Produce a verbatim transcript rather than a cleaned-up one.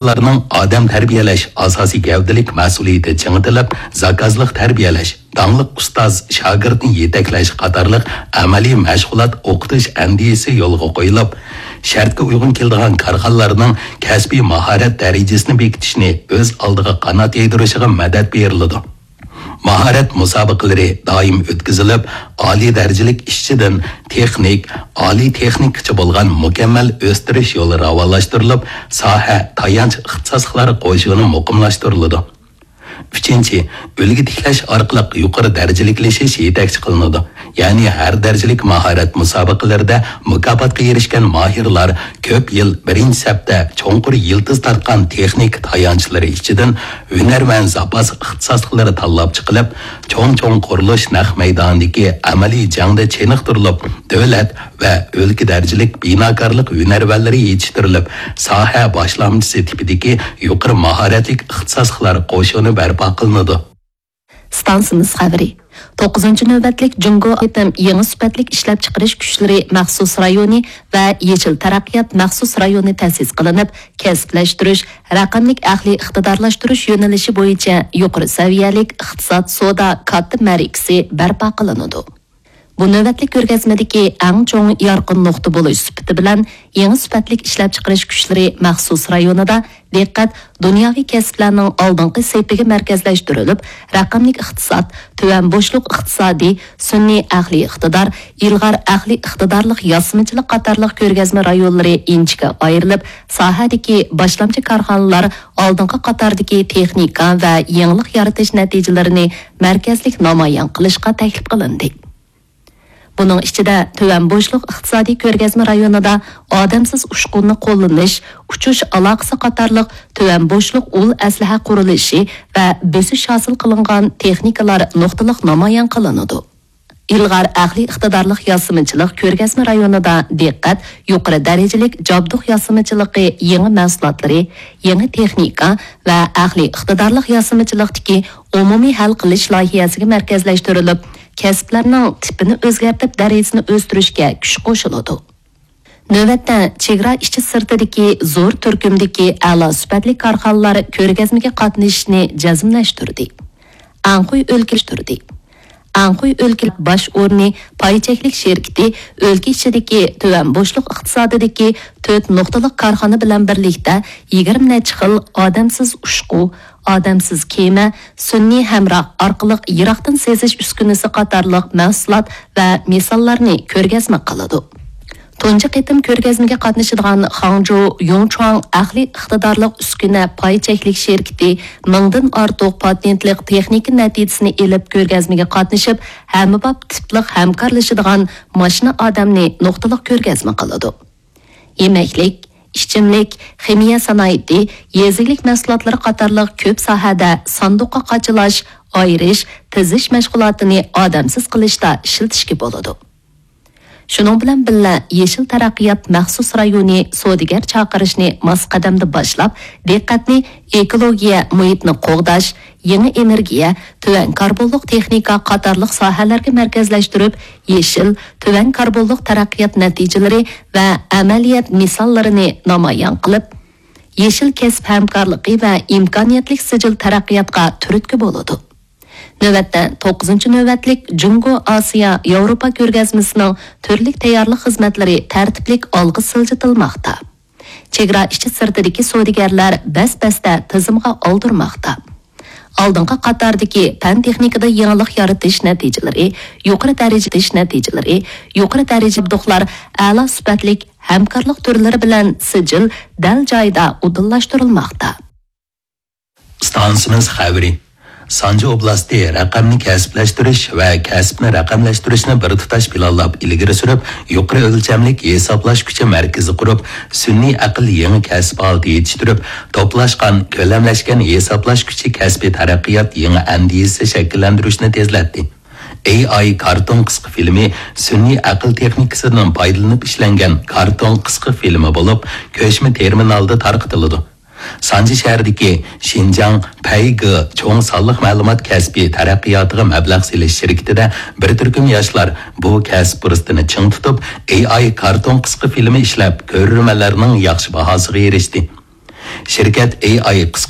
كارخانىلارنىڭ ئادەم تەربىيەلەش ئاساسىي گەۋدىلىك مەسئۇلىيىتى چىڭىتىلىپ، زاكازلىق تەربىيەلەش، داڭلىق ئۇستاز شاگىرتنى يېتەكلەش قاتارلىق ئەمەلىي مەشغۇلات ئوقۇتۇش ئەندىزىسى يولغا قويۇلۇپ، شەرتكە ئۇيغۇن كېلىدىغان كارخانىلارنىڭ كەسپىي ماھارەت دەرىجىسىنى بېكىتىشنى ئۆز ئالدىغا قانات يايدۇرۇشىغا مەدەت بېرىلىدۇ. ماھارەت مۇسابىقىلىرى دائىم ئۆتكۈزۈلۈپ، ئالىي دەرىجىلىك ئىشچىدىن تېخنىك، ئالىي تېخنىكقىچە بولغان مۇكەممەل ئۆستۈرۈش يولى راۋانلاشتۇرۇلۇپ، ساھە تايانچ ئىختىساسلىقلار قوشۇنى مۇقىملاشتۇرۇلىدۇ. ئۈچىنچى، ئۈلگە تىكلەش ئارقىلىق يۇقىرى دەرىجىلىكلىشىش يېتەكچى قىلىنىدۇ. يەنى ھەر دەرىجىلىك ماھارەت مۇسابىقىلىرىدە مۇكاپاتقا ئېرىشكەن ماھىرلار كۆپ يىل بىرىنچى سەپتە چوڭقۇر يىلتىز تارتقان تېخنىكا تايانچلىرى ئىچىدىن ھۈنەرۋەن زاپاس ئىختىساسلىقلىرى تاللاپ چىقىلىپ، چوڭ-چوڭ قۇرۇلۇش نەق مەيدانىدىكى ئەمەلىي جەڭدە چېنىقتۇرۇلۇپ، دۆلەت ۋە ئۆلكە دەرىجىلىك بىناكارلىق ھۈنەرۋەنلىرى يېتىشتۈرۈلۈپ، ساھە باشلامچىسى تىپىدىكى يۇقىرى ماھارەتلىك ئىختىساسلىقلار قوشۇنى بەرپا قىلىنىدۇ. ئىستانسىمىز خەۋىرى. توققۇزىنچى نۆۋەتلىك جۇڭگو قېتىم يېڭى سۈپەتلىك ئىشلەپچىقىرىش كۈچلىرى مەخسۇس رايونى ۋە يېشىل تەرەققىيات مەخسۇس رايونى تەسىس قىلىنىپ، كەسىپلەشتۈرۈش، رەقەملىك ئەقلىي ئىقتىدارلاشتۇرۇش يۆنىلىشى بويىچە يۇقىرى سەۋىيەلىك ئىقتىساد سودا كاتتا مەرىكىسى بەرپا قىلىنىدۇ. بۇ نۆۋەتلىك كۆرگەزمىدىكى ئەڭ چوڭ يارقىن نۇقتا بولۇش سۈپىتى بىلەن، يېڭى سۈپەتلىك ئىشلەپچىقىرىش كۈچلىرى مەخسۇس رايونىدا دىققەت دۇنياۋى كەسىپلەرنىڭ ئالدىنقى سېپىگە مەركەزلەشتۈرۈلۈپ، رەقەملىك ئىقتىساد، تۆۋەن بوشلۇق ئىقتىسادى، سۈنئىي ئەقلىي ئىقتىدار، ئىلغار ئەقلىي ئىقتىدارلىق ياسىمىچىلىق قاتارلىق كۆرگەزمە رايونلىرى ئىنچىكە ئايرىلىپ، ساھەدىكى باشلامچى كارخانىلار ئالدىنقى قاتاردىكى تېخنىكا ۋە يېڭىلىق يارىتىش نەتىجىلىرىنى مەركەزلىك نامايان قىلىشقا تەكلىپ قىلىندى. بۇنىڭ ئىچىدە تۆۋەن بوشلۇق ئىقتىسادىي كۆرگەزمە رايونىدا ئادەمسىز ئۇچقۇننى قوللىنىش، ئۇچۇش ئالاقىسى قاتارلىق تۆۋەن بوشلۇق ئۇل ئەسلىھە قۇرۇلۇشى ۋە بۆسۈش ھاسىل قىلىنغان تېخنىكىلار نۇقتىلىق نامايان قىلىنىدۇ. ئىلغار ئەقلىي ئىقتىدارلىق ياسىمىچىلىق كۆرگەزمە رايونىدا دىققەت يۇقىرى دەرىجىلىك جابدۇق ياسىمىچىلىقى يېڭى مەھسۇلاتلىرى، يېڭى تېخنىكا ۋە ئەقلىي ئىقتىدارلىق ياسىمىچىلىقتىكى ئومۇمىي ھەل قىلىش لايىھەسىگە مەركەزلەشتۈرۈلۈپ، كەسىپلەرنىڭ تىپىنى ئۆزگەرتىپ، دەرىجىسىنى ئۆستۈرۈشكە كۈچ قوشۇلىدۇ. نۆۋەتتە، چېگرا ئىچى سىرتىدىكى زور تۈركۈمدىكى ئەلا سۈپەتلىك كارخانىلار كۆرگەزمىگە قاتنىشىشنى جەزملەشتۈردى. ئەنخۇي ئۆلكىلەشتۈردى. ئەنخۇي ئۆلكە باش ئورنى پاي چەكلىك شىركىتى ئۆلكە ئىچىدىكى تۆۋەن بوشلۇق ئىقتىسادىدىكى تۆت نۇقتىلىق كارخانا بىلەن بىرلىكتە يىگىرمە نەچچە خىل ئادەمسىز ئۇچقۇ، ئادەمسىز كېمە، سۈنئىي ھەمراھ ئارقىلىق يىراقتىن سېزىش ئۈسكۈنىسى قاتارلىق مەھسۇلات ۋە مىساللارنى كۆرگەزمە قىلىدۇ. تۇنجى قېتىم كۆرگەزمىگە قاتنىشىدىغان خاڭجۇ يۇڭچۇاڭ ئەقلىي ئىقتىدارلىق ئۈسكۈنە پاي چەكلىك شىركىتى مىڭدىن ئارتۇق پاتېنتلىق تېخنىكا نەتىجىسىنى ئېلىپ، كۆرگەزمىگە قاتنىشىپ، ھەممىباب تىپلىق ھەمكارلىشىدىغان ماشىنا ئادەمنى نۇقتىلىق كۆرگەزمە قىلىدۇ. يېمەكلىك، ئىچىملىك، خىمىيە سانائىتى، يېزا ئىگىلىك مەھسۇلاتلىرى قاتارلىق كۆپ ساھەدە ساندۇققا قاچىلاش، ئايرىش، تىزىش مەشغۇلاتىنى ئادەمسىز قىلىشتا ئىشلىتىشكە بولىدۇ. شۇنىڭ بىلەن بىللە، يېشىل تەرەققىيات مەخسۇس رايونى سودىگەر چاقىرىشنى ماس قەدەمدە باشلاپ، دىققەتنى ئېكولوگىيە مۇھىتنى قوغداش، يېڭى ئېنېرگىيە، تۆۋەن كاربونلۇق تېخنىكا قاتارلىق ساھەلەرگە مەركەزلەشتۈرۈپ، يېشىل، تۆۋەن كاربونلۇق تەرەققىيات نەتىجىلىرى ۋە ئەمەلىيەت مىساللىرىنى نامايان قىلىپ، يېشىل كەسىپ ھەمكارلىقى ۋە ئىمكانىيەتلىك سىجىل تەرەققىياتقا تۈرتكە بولىدۇ. نۆۋەتتە توققۇزىنچى نۆۋەتلىك جۇڭگو ئاسىيا ياۋروپا كۆرگەزمىسىنىڭ تۈرلۈك تەييارلىق خىزمەتلىرى تەرتىپلىك ئالغا سىلجىتىلماقتا. چېگرا ئىچى سىرتىدىكى سودىگەرلەر بەس-بەستە تىزىمغا ئالدۇرماقتا. ئالدىنقى قاتاردىكى پەن تېخنىكىدا يېڭىلىق يارىتىش نەتىجىلىرى، يۇقىرى دەرىجە نەتىجىلىرى، يۇقىرى دەرىجە ئەلا سۈپەتلىك ھەمكارلىق تۈرلىرى بىلەن سىجىل دەل جايىدا ئۇدۇللاشتۇرۇلماقتا. ئىستانسىمىز خەۋىرى. سانجى ئوبلاستى رەقەمنى كەسىپلەشتۈرۈش ۋە كەسىپنى رەقەملەشتۈرۈشنى بىر تۇتاش پىلانلاپ ئىلگىرى سۈرۈپ، يۇقىرى ئۆلچەملىك ھېسابلاش كۈچى مەركىزى قۇرۇپ، سۈنئىي ئەقىل يېڭى كەسىپ ھالىتى يېتىشتۈرۈپ، توپلاشقان، كۆلەملەشكەن ھېسابلاش كۈچى كەسپىي تەرەققىيات يېڭى ئەندىزىسى شەكىللەندۈرۈشنى تېزلەتتى. ئېي ئاي كارتون قىسقا فىلىمى سۈنئىي ئەقىل تېخنىكىسىدىن پايدىلىنىپ ئىشلەنگەن كارتون قىسقا فىلىمى بولۇپ، كۆچمە تېرمىنالدا تارقىتىلىدۇ. سانجى شەھىرىدىكى شىنجاڭ پەيگې چوڭ سانلىق مەلۇمات كەسپىي تەرەققىياتىغا مەبلەغ سېلىش شىركىتىدە بىر تۈركۈم ياشلار بۇ كەسىپ پۇرسىتىنى چىڭ تۇتۇپ، ئېي ئاي كارتون قىسقا فىلىمى ئىشلەپ، كۆرۈرمەنلەرنىڭ ياخشى باھاسىغا ئېرىشتى. شىركەت ئېي ئاي قىسقا